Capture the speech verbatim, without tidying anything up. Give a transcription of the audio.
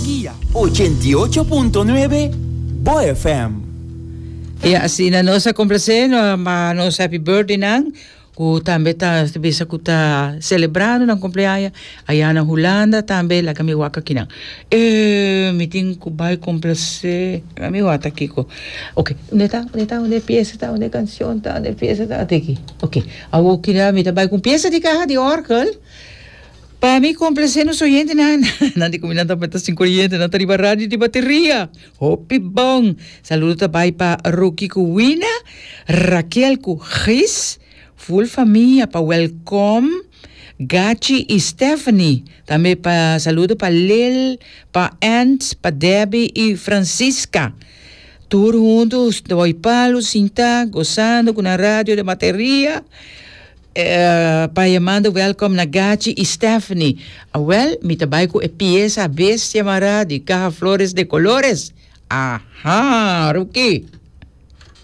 Guia. Ochenta i ocho punto nuebe Bo F M. Ja, asina nos a komplasé no, ma nos happy birthday nan ku tambe ta bisa ku ta selebrando nan kumpleaños aya na Hulanda tambe. Laga mi wak akinan. Eh, mi tin ku bai komplasé. Mi wak kiko. Ok, unda ta? Unda ta? Unda piesa ta? Unda kanshon ta? Unda piesa ta? At'aki. Ok. Awor kira mi ta bai ku piesa di kaha di òrgel. Pa mi komplasé nos oyentenan. Nan di kuminda ta sin koriente, nan ta riba radio di bateria. Hopi bon. Saludo ta bai pa Rocky ku Wina, Raquel ku Gis, full famia, pa Welcome, Gachi i Stephanie. Tambe pa saludo pa Lil, pa Ant, pa Debbie i Francisca. Tur huntu, oi palu, sinta, gosando ku e radio di bateria. Eh, pa yamando welcome na Gachi i Stephanie. Ah, well, mi ta bai ku e piesa Bestia Mará di Caja Flores de Colores. Aha, Ruki.